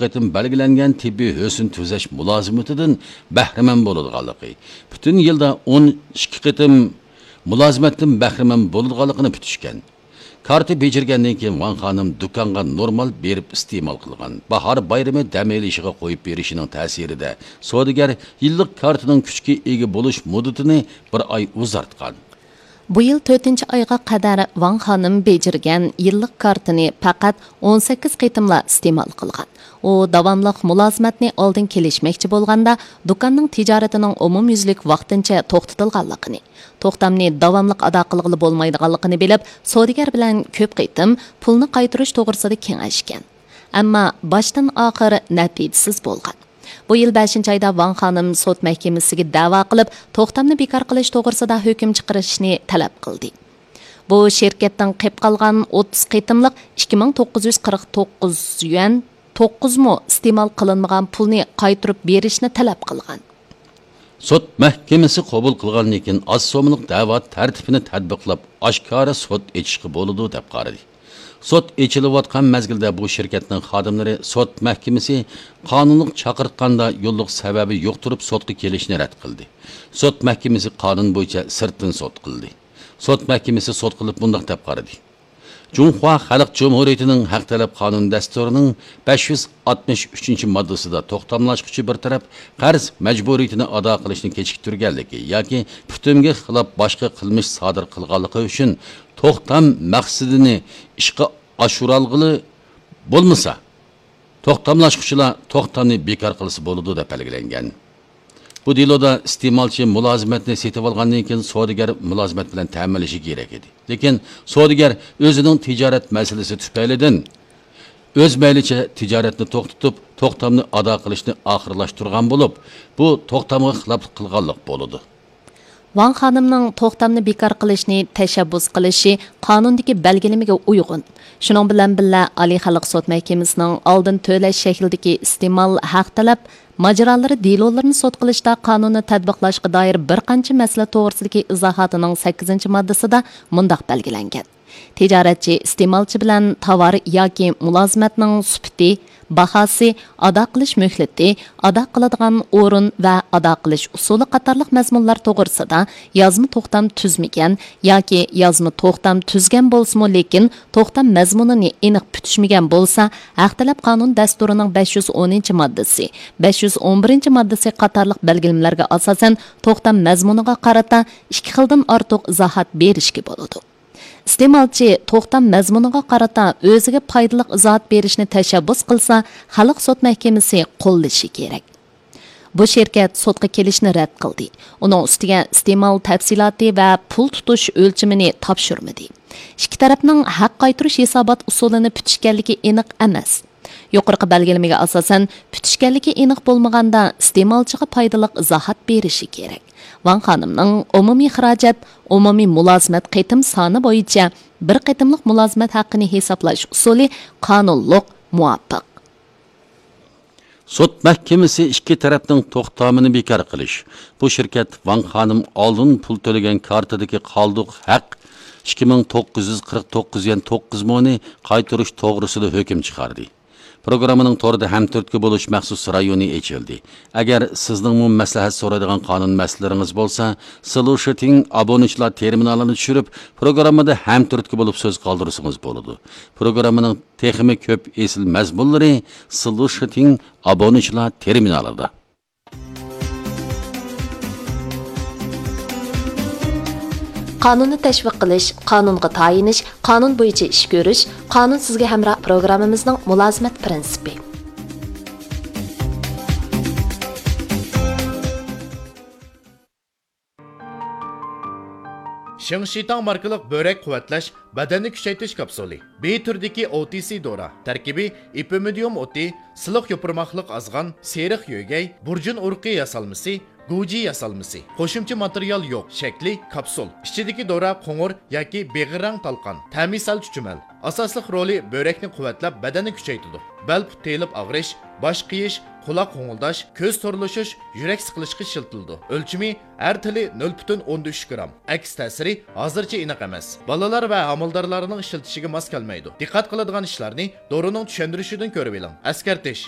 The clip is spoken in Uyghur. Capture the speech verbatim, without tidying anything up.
قېتىم بەلگىلەنگەن تېببىي ھۆسن تۈزەش مۇلازىمىتىدىن بەھرىمەن بولىدىغانلىقى، پۈتۈن يىلدا ئون ئىككى قېتىم مۇلازىمەتتىن بەھرىمەن بولىدىغانلىقىنى پۈتۈشكەن. كارتا بېجىرگەندىن كېيىن ۋاڭ خانىم دۇكانغا نورمال بېرىپ ئىستېمال قىلغان. باھار بايرىمى دەم ئېلىشىغا قويۇپ بېرىشىنىڭ تەسىرىدە سودىگەر يىللىق كارتىنىڭ كۈچكە ئىگە بولۇش مۇددىتىنى بىر ئاي ئۇزارتقان. بۇ يىل تۆتىنچى ئايغا قەدەر ۋاڭ خانىم بېجىرگەن يىللىق كارتىنى پەقەت ئون سەككىز قېتىملا ئىستېمال قىلغان. ئۇ داۋاملىق مۇلازىمەتنى ئالدىن كېلىشمەكچى بولغاندا، دۇكاننىڭ تىجارىتىنىڭ ئومۇميۈزلۈك ۋاقتىنچە توختىتىلغانلىقىنى، توختامنى داۋاملىق ئادا قىلغىلى بولمايدىغانلىقىنى بىلىپ، سودىگەر بىلەن كۆپ قېتىم پۇلنى قايتۇرۇش توغرىسىدا كېڭەشكەن. ئەمما باشتىن ئاخىر نەتىجىسىز بولغان. بۇ يىل بەشىنچى ئايدا ۋاڭ خانىم سوت مەھكىمىسىگە دەۋا قىلىپ، توختامنى بىكار قىلىش توغرىسىدا ھۆكۈم چىقىرىشنى تەلەپ قىلدى. بۇ شىركەتتىن قېلىپ قالغان ئوتتۇز قېتىملىق ئىككى مىڭ توققۇز يۈز قىرىق توققۇز يۈەن، توققۇزمۇ ئىستېمال قىلىنمىغان پۇلنى قايتۇرۇپ بېرىشنى تەلەپ قىلغان. سوت مەھكىمىسى قوبۇل قىلغاندىن كېيىن، ئاز سوممىلىق دەۋا تەرتىپىنى تەتبىقلاپ، ئاشكارا سوت ئېچىشقا بولىدۇ، دەپ قارىدى. سوت ئېچىلىۋاتقان مەزگىلدە بۇ شىركەتنىڭ خادىملىرى سوت مەھكىمىسى قانۇنلۇق چاقىرتقاندا يوللۇق سەۋەبى يوق تۇرۇپ سوتقا كېلىشنى رەت قىلدى. سوت مەھكىمىسى قانۇن بويىچە سىرتتىن سوت قىلدى. سوت مەھكىمىسى سوت قىلىپ مۇنداق دەپ قارىدى. جۇڭخۇا خەلق جۇمھۇرىيىتىنىڭ ھەق تەلەپ قانۇن دەستۇرىنىڭ بەش يۈز ئاتمىش ئۈچىنچى ماددىسىدا توختاملاشقۇچى بىر تەرەپ قەرز مەجبۇرىيىتىنى ئادا قىلىشنى كېچىكتۈرگەنلىكى ياكى پۈتۈنگە خىلاپ باشقا قىلمىش سادىر قىلغانلىقى ئۈچۈن توختام مەقسىتىنى ئىشقا ئاشۇرالغىلى بولمىسا، توختاملاشقۇچىلار توختامنى بىكار قىلسا بولىدۇ، دەپ بەلگىلەنگەن. بۇ دېلودا ئىستېمالچى مۇلازىمەتنى سېتىۋالغاندىن كېيىن سودىگەر مۇلازىمەت بىلەن تەمىنلىشى كېرەك ئىدى. لېكىن سودىگەر ئۆزىنىڭ تىجارەت مەسىلىسى تۈپەيلىدىن ئۆز مەيلىچە تىجارەتنى توختىتىپ، توختامنى ئادا قىلىشنى ئاخىرلاشتۇرغان بولۇپ، بۇ توختامغا خىلاپلىق قىلغانلىق بولىدۇ. ۋاڭ خانىمنىڭ توختامنى بىكار قىلىشنى تەشەببۇس قىلىشى قانۇندىكى بەلگىلىمىگە ئۇيغۇن. شۇنىڭ بىلەن بىللە، ئالىي خەلق سوت مەھكىمىسىنىڭ ئالدىن تۆلەش شەكلىدىكى ئىستېمال ھەق تەلەپ ماجىرالىرى دېلولىرىنى سوت قىلىشتا قانۇننى تەتبىقلاشقا دائىر بىر قانچە مەسىلە توغرىسىدىكى ئىزاھاتىنىڭ سەككىزىنچى ماددىسىدا مۇنداق بەلگىلەنگەن: تىجارەتچى ئىستېمالچى بىلەن تاۋار ياكى مۇلازىمەتنىڭ سۈپىتى، باھاسى، ئادا قىلىش مۆھلىتى، ئادا قىلىدىغان ئورۇن ۋە ئادا قىلىش ئۇسۇلى قاتارلىق مەزمۇنلار توغرىسىدا يازما توختام تۈزمىگەن ياكى يازما توختام تۈزگەن بولسىمۇ، لېكىن توختام مەزمۇنىنى ئېنىق پۈتۈشمىگەن بولسا، ھەق تەلەپ قانۇن دەستۇرىنىڭ بەش يۈز ئونىنچى ماددىسى، بەش يۈز ئون بىرىنچى ماددىسى قاتارلىق بەلگىلىمىلەرگە ئاساسەن، توختام مەزمۇنىغا قارىتا ئىككى خىلدىن ئارتۇق ئىزاھات بېرىشكە بولىدۇ. ئىستېمالچى توختام مەزمۇنىغا قارىتا ئۆزىگە پايدىلىق ئىزاھات بېرىشنى تەشەببۇس قىلسا، خەلق سوت مەھكىمىسى قوللىشى كېرەك. بۇ شىركەت سوتقا كېلىشنى رەت قىلدى. ئۇنىڭ ئۈستىگە ئىستېمال تەپسىلاتى ۋە پۇل تۇتۇش ئۆلچىمىنى تاپشۇرمىدى. ئىككى تەرەپنىڭ ھەق قايتۇرۇش ھېسابات ئۇسۇلىنى پۈتۈشكەنلىكى ئېنىق ئەمەس. يۇقىرىقى بەلگىلىمىگە ئاساسەن، پۈتۈشكەنلىكى ئېنىق بولمىغاندا، ئىستېمالچىغا پايدىلىق ئىزاھات بېرىشى كېرەك. ۋاڭ خانىمنىڭ ئومۇمىي خىراجەت، ئومۇمىي مۇلازىمەت قېتىم سانى بويىچە بىر قېتىملىق مۇلازىمەت ھەققىنى ھېسابلاش ئۇسۇلى قانۇنلۇق، مۇۋاپىق. سوت مەھكىمىسى ئىككى تەرەپنىڭ توختامىنى بىكار قىلىش، بۇ شىركەت ۋاڭ خانىم ئالدىن پۇل تۆلىگەن كارتىدىكى قالدۇق ھەق ئىككى مىڭ توققۇز يۈز قىرىق توققۇز يۈەن توققۇز مونى قايتۇرۇش توغرىسىدا ھۆكۈم چىقاردى. پروگراممىنىڭ توردا ھەمتۈرتكە بولۇش مەخسۇس رايونى ئېچىلدى. ئەگەر سىزنىڭمۇ مەسلىھەت سورايدىغان قانۇن مەسىلىلىرىڭىز بولسا، سلۇشىتىڭ ئابۇنىچىلار تېرمىنالىنى چۈشۈرۈپ، پروگراممىدا ھەمتۈرتكە بولۇپ سۆز قالدۇرسىڭىز بولىدۇ. پروگراممىنىڭ تېخىمۇ كۆپ ئېسىل مەزمۇنلىرى سلۇشىتىڭ ئابۇنىچىلار تېرمىنالىدا. قانۇننى تەشۋىق قىلىش، قانۇنغا تايىنىش، قانۇن بويىچە ئىش كۆرۈش، قانۇن سىزگە ھەمراھ پروگراممىمىزنىڭ مۇلازىمەت پىرىنسىپى. شىڭشىتاڭ ماركىلىق بۆرەك قۇۋۋەتلەش، بەدەننى كۈچەيتىش كاپسۇلى. بى تۈرىدىكى ئو تى سى دورا. تەركىبى ئېپىمىدىيۇم ئوتى، سىلىق يوپۇرماقلىق ئازغان، سېرىق يۆگەي، بۇرجۇن ئۇرۇقى ياسالمىسى، گۇجى ياسالمىسى. قوشۇمچە ماتېرىيال يوق. شەكلى كاپسۇل. ئىچىدىكى دورا قوڭۇر ياكى بېغىر رەڭ تالقان. تەمى سەل چۈچۈمەل. ئاساسلىق رولى بۆرەكنى قۇۋۋەتلەپ، بەدەننى كۈچەيتىدۇ. بەل پۇت تېيىلىپ ئاغرىش، باش قېيىش، قۇلاق غوڭۇلداش، كۆز تورلىشىش، يۈرەك سىقىلىشقا ئىشلىتىلىدۇ. ئۆلچىمى ھەر تىلى نۆل پۈتۈن ئوندىن ئۈچ گرام. ئەكس تەسىرى ھازىرچە ئېنىق ئەمەس. بالىلار ۋە ھامىلىدارلارنىڭ ئىشلىتىشىگە ماس كەلمەيدۇ. دىققەت قىلىدىغان ئىشلارنى دورىنىڭ چۈشەندۈرۈشىدىن كۆرۈۋېلىڭ. ئەسكەرتىش: